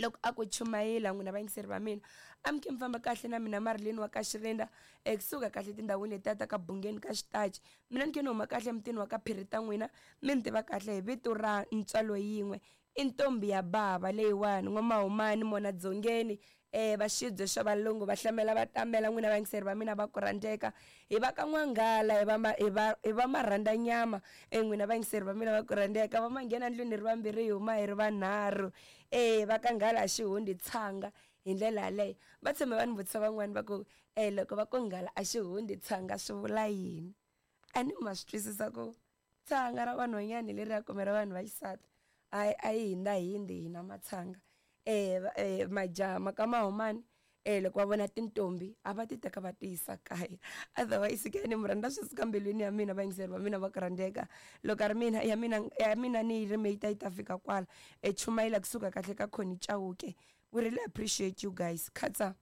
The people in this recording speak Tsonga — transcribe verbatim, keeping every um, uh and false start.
Loko a ku chumayela, n'wina vayingiseri va mina, a mi khe mi famba kahle na mina Marilyn wa ka Xirinda, ekusuka kahle tindhawini letiya ta ka Bungeni ka Xitachi. Mina ni khe ni huma kahle emutini wa ka Phiri ta n'wina, mi ni tiva kahle hi vito ra Ntswalo Yin'we, i ntombi ya bava leyiwani, N'wamahumani mona dzongeni, um va xibye xa valungu va hlamela va tamela. N'wina vayingiseri va mina va ku rhandzeka, hi va ka N'wanghala, hi va ma, hi va hi va marhandza nyama. E n'wina vayingiseri va mina va ku rhandzeka, va manghena ndlwini hi ri vambirhi, hi huma hi ri vanharhu. E va ka nghala xihundi tshanga hi ndlela yaleyo. Va tshame va ni vutisa van'wani va ku, e loko va ku nghala a xihundi tshanga swi vula yini? A ni ma swi twisisa ku tshanga ra vanhwanyani leriya kumbe ra vanhu va xisati a a yi hindza hindi hina matshanga. E majaha ma ka mahumani, e loko va vona tintombi a va ti teka va ti yisa kaya. Otherwise ke ni mi rhandza swi suka mbilwini ya mina, vayingiseri va mina va ku rhandzeka. Loko a ri mina ya mina ya mina ni yi rime yi ta yi ta fika kwala. E chumayela kusuka kahle ka Connie Chauke. We really appreciate you guys. Khatsa.